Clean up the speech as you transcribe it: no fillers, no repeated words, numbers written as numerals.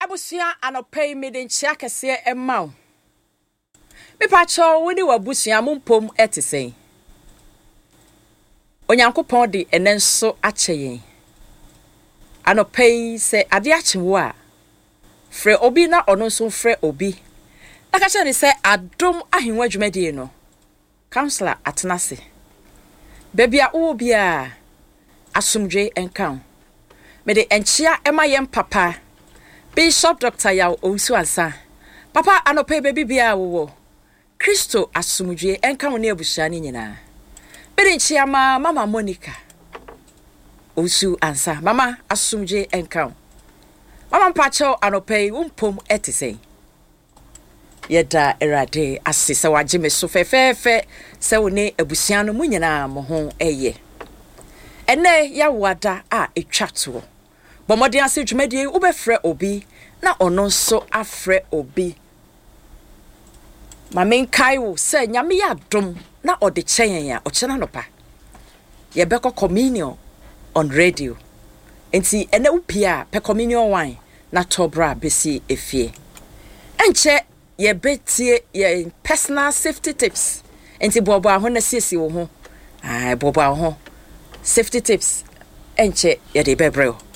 Abusua anɔpa yi mede nkyea kɛseɛ ma wo. Mepakyɛw wo ne w'abusua mo mpom te sɛn? Onyankopɔn de ɛnɛ nso akyɛ yɛn. Anɔpa yi sɛ ade akye wo a, frɛ obi na ɔno nso mfrɛ obi na ka kyerɛ no sɛ adom ahengua dwumadie no Councillor atena ase. Baabi a wowɔ biara, asomdwoe nka wo. Mede nkyea ma yɛn papa, Bishop Doctor Yaw Owusu Ansah. Papa, anɔpa yi baabi biara a wowɔ, Kristo asomdwoe nka wo ne abusua no nyinaa. Mede nkyea ma Mama Monica Owusu Ansah. Mama, asomdwoe nka wo. Mama mpakyɛw anɔpa yi wo mpom te sɛn? Yɛda Awurade ase sɛ wagye me so fɛfɛɛfɛ sɛ wo ne abusua no mo nyinaa mo ho yɛ. Ɛnnɛ yɛawoada a ɛtwa toɔ. Bɔ mmɔden ase dwumadie yi wobɛfrɛ obi na ɔno nso afrɛ obi. Ma menkae wo sɛ Nyame yɛ adom na ɔde kyɛ yɛn a ɔkyena anɔpa yɛbɛkɔ communion on radio. Nti ɛnɛ wopie a pɛ communion wine na tɔ bra bɛsi efie. Ɛnkyɛ yɛbɛtie yɛn personal safety tips. Nti boaboa ho na siesie wo ho. Ae, boaboa wo ho. Safety tips ɛnkyɛ yɛde bɛbrɛ wo.